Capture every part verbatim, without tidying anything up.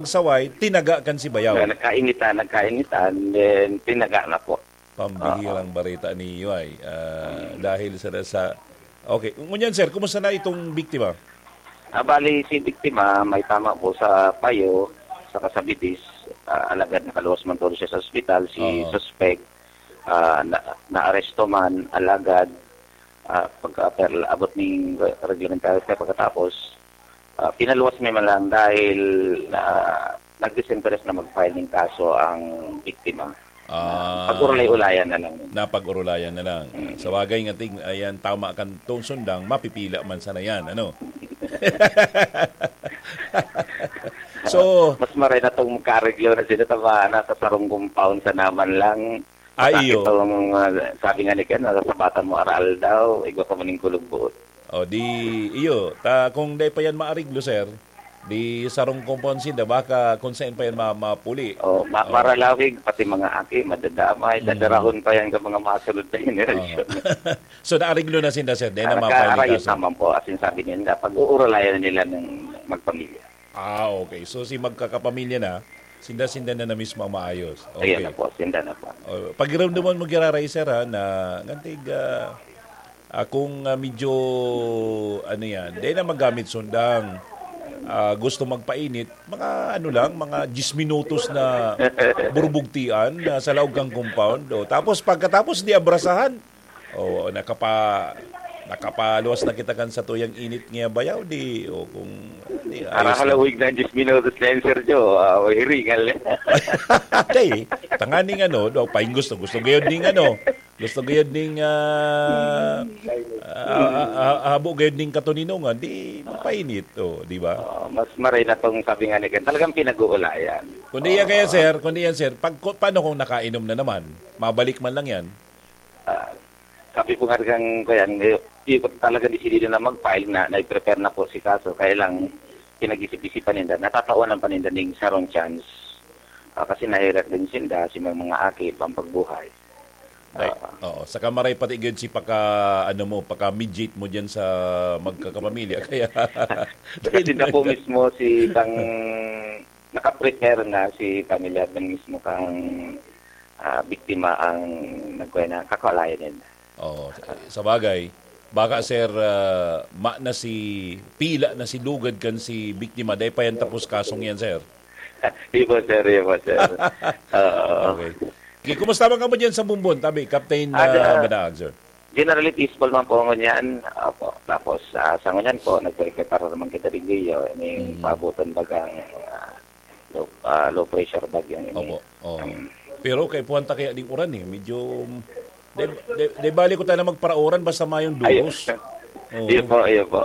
saway, tinaga kan si Bayaw. Na nagkainitan, nagkainitan, then tinaga na po. Pambihirang Oo. bareta niyo ay, ah, Mm. dahil sa, sa, okay. Ngunyan, sir, kumusta na itong biktima? Ah, bali, si biktima may tama po sa payo, sa kasabidis, ah, alagad nakaluwas man po siya sa ospital, si Oo. suspect, ah, na, naaresto man, alagad, ah, pagka, per, abot ning re-, reglamentary pa pagkatapos, ah, pinaluwas mi man lang dahil, ah, nag-disinteres na mag-file ng kaso ang biktima. Ah, Pag-urulay-ulayan na lang. napag-urulayan na lang. Mm. Sa bagay nga ting-, ayan, tama kan tong sundang, mapipila man sana yan, ano? So, Mas maray na tong magkaareglo na sila, tama, nasa sarong compound sa naman lang. Ah, Sa iyo. itong, ah, sabi nga ni Ken, nasasabatan mo aral daw, igwa pa maning kulog buot. O, di, iyo. Ta, kung dai pa yan maariglo, sir, di sarong compound sinda, baka kung saan pa yan ma-, mapuli. O, ma-, O. maralawig, pati mga aki, madadamay, Mm. dadarahon pa yan sa mga masunod na henerasyon. Oho. So, naariglo na sinda, sir? Dai na Ah, mapahinikaso? nagkaarayos naman po, as in, sabi nila, pag-uurulayan nila ng magpamilya. Ah, okay. So, si magkakapamilya na, sinda-sinda na na mismo ang maayos. Ayan Okay. na po, sinda na po. O, pakiramdaman mo, giraray, sir, ha, na ngantig, ah, ah, kung, ah, medyo, ano yan, dai na magamit sundang, ah, gusto magpainit, mga ano lang, mga diyes minutos na burbugtian na sa laog kang compound. O, tapos pagkatapos, di abrasahan. O, nakapa-, nakapaluwas na kita kan satuyang init nga bayaw, di, o kung, di, ayos na. Arahalawig na diyes minutos na yun, Sergio. Ah, o, hiringal na. Dai, tanganing ano, do, paing gusto, gusto gayod ning ano, gusto gayod ning, ah, ah, ah, ah, habo gayod ning katoninongan, di magpainit, o, di ba? Ah, mas maray na tong sabi nga ni Ken, talagang pinag-uulayan. Kundi yan kaya, Oo. sir, kundi yan, sir, pag, ku-, paano kung nakainom na naman? Mabalik man lang yan? Ah, sabi po nga kang, kuyan, eh, di ko talaga desidido na mag-file na, nai-prepare na po si kaso. Kaya lang, pinag-isip-isipan ninda, natatawanan pa ninda ning sarong chance. Ah, kasi nahirap din sinda, si mga, mga aki, pampagbuhay. Ay, Ah. oo. Saka maray pati gid si paka, ano mo, paka-mediate mo diyan sa magkakapamilya. Kaya Kasi na po mismo si kang nakaprepare na si pamilya, mismo kang, ah, biktima ang nagkuha na, kakalayan nila. Oo, sa, sa bagay, baka, sir, ah, ma na si, pila na si lugad kan si biktima, dai pa yan tapos kasong yan, sir. Di po, sir, di po, sir. Oo. Okay. Okay, kumusta man kamo dyan sa Bumbon, tabi, Captain, Ah, ah, da- Banaag, sir? Generally peaceful man po ngunyan. Opo. Tapos, ah, sa ngunyan po, nagpreprepara naman kita digdi, oh, ning Mm. paaboton bagang, ah, low, ah, low pressure bag yan, eh. Opo. Oo. Mm. Pero kaipuhan ta kaya ding uran, eh. Medyo, de, de, de bali ko tayo na magparauran basta mayong Ayun. dugos. Oo. Yun po, yun po.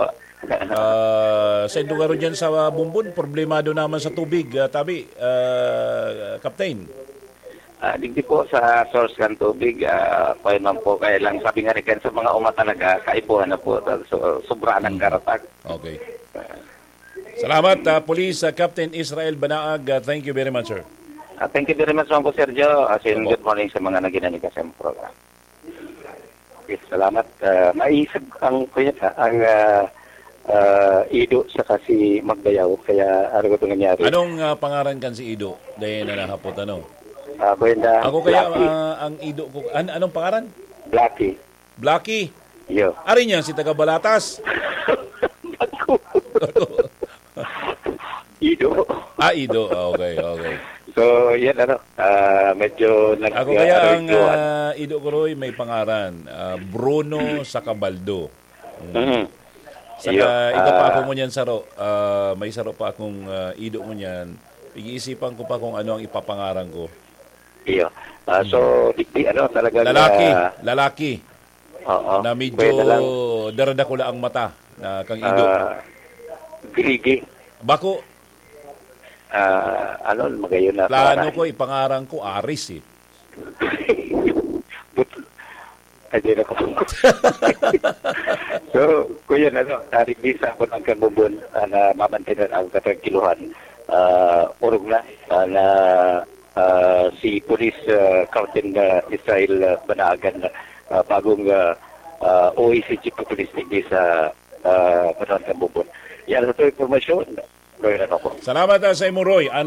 Ah, sa lugar dyan sa Bumbon, problemado naman sa tubig, ah, tabi, ah, Captain. Ah, digdi po sa source kan tubig, ah, kaya man po, kaya lang sabi nga ni Ken, sa mga uma talaga, kaipuhan na po, so, sobra ng Mm. karatak. Okay. Ah. Salamat, ah, Police, ah, Captain Israel Banaag. Ah, thank you very much, sir. Ah, thank you very much, Ma'am po, Sergio. As in, Opo. good morning sa mga naginamit sa program. Okay, salamat. Ah, maisip ang, kuya, ang, ah, ah, Ido saka si Magbayaw, kaya ano ba nangyari? Anong, ah, pangaran kan si Ido? Dahil na nahapot, ano? Ah, Brenda Ako kaya, Blackie. ah, ang Ido ko, an-, anong pangaran? Blackie. Blackie? Iyo. Ari niya, si taga Balatas. Ako. Ido. Ah, Ido. Ah, okay, okay. So, yan ano, ah, medyo nag- Ako kaya ang, ah, ah, Ido ko, Roy, may pangaran, ah, Bruno Sacabaldo. Mm. Mhm. Saka Iyo, iba pa ah, ako ngunyan saro, ah, may saro pa akong, ah, Ido ngunyan. Pag-iisipan ko pa kung ano ang ipapangaran ko. Iyo. Ah, so, Hmm. di, di, ano, talagang, Lalaki, ah, lalaki. Oo. Na medyo Pwede lang. daradakula ang mata na kang Ido. Ah, Grigi. Bako. Ah, ano, magayon na Plano pangalan. ko, ipangaran ko, Aris eh. But, ay, di na ko. So, kuya, ano, tarik di sa ako ng Kambubon, ah, na mamantinan ang katrangiluhan. Ah, orog na, ah, na, ah, si Police, ah, Captain, ah, Israel, ah, Banaagan, ah, bagong, ah, ah, O A C Chief of Police digdi sa, ah, Banaagan, Kambubon. Yan, ito impormasyon. Roy, ano po? Salamat, ah, sa imo, Roy. Ang